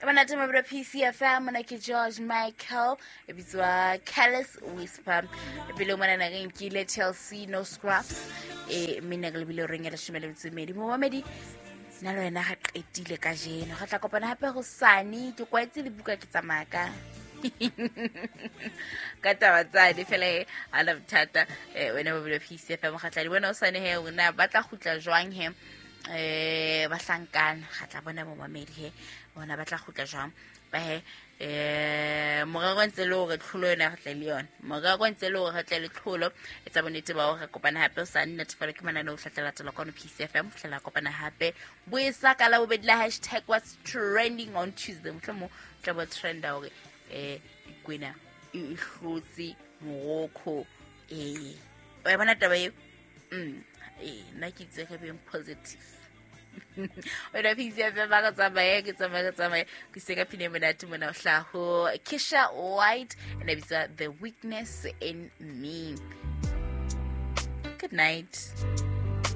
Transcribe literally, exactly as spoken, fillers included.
Monate mabelo P C F M, mona ke George Michael, e bitswa Careless Whisper. Pele mona na re nkile Chelsea No Scraps, e mina ke lebile reng ya leshome le metso e mmedi. Momamedi, nna le wena ga qetile kajeno. Re tla kopana hape hosane. Ke kwaetse le buka ke tsamaya ka ka taba tsane fela e ha na bothata. Eh, wena mabelo P C F M, ga tla di bona hosane he, na ba tla kgutla jwang he? Eh, bahlankana, ga tla bona momamedi he, bona ba tla kgutla jwang? Ba he, eh, morero ntse le hore tlholo yona re tle le yona. Morero ntse le hore re tle le tlholo. Etsa bonnete ba hore re kopana hape hosane. Natefelo ke mananeo o tla latela kwano P C F M. Ho fihlela kopana hape. Boesa ka Labobedi la hashtag what's trending on Tuesday. Mohlomong o tla bo trenda hore, eh, Dikwena e hlotse Morocco. Eh, wa e bona taba eo? Mm, eh, nna ke itse re beng positive. Wena P C F M, ba re tsamaye, ke tsamaye, ke tsamaye. Ke se ka pina e monate mona ho hlaha ho Keisha White, and e bitswa The Weakness in Me. Good night.